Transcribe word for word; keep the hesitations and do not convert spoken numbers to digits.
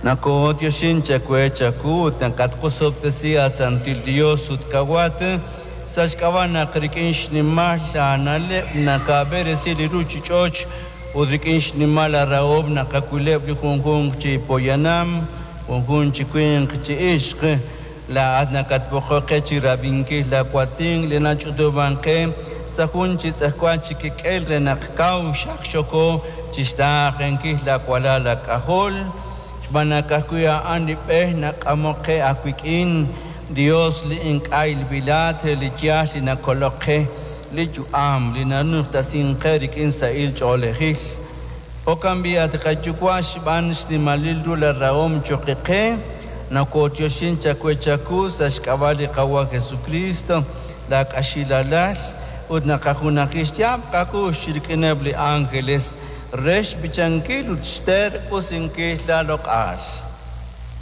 Nakooyoxin chawe chaku ut nakatqosob'tesi at Santil Dios ut kawat sa' xk'ab'a' naq rik'in xnimal aana'leb' nakab'eresi li ruuchich'och' ut rik'in xnimal aarahom naqawileb' li junjunq chi poyanam, junjunq chi winq chi ixq. Laa'at nakatb'oqok qe chi rab'inkil laawatin li nach'utub'ank qe sa' jun chi tz'ejwal chi kik'el re naq kaw xaqxoko chi xtaaqenkil laawalal laak'ajol. Xb'aan naq ka'ajwi' a'an li b'e nak'amok qe aawik'in, Dios li ink'a' ilb'ilat, li yaal li nakolok qe, li yu'am li nanujtasink qe rik'in sahil ch'oolejil. Jo'kan b'i' at qayuwa' xb'aan xnimalil ru laarahom cho'q qe, nakooyoxin chawe chaku sa' xk'ab'a' li Qawa' Jesucristo, laak'axilalal, ut naqajunaji xyaab' qakux rik'ineb' li ángeles re xb'ichankil ut xterq'usinkil laaloq'al.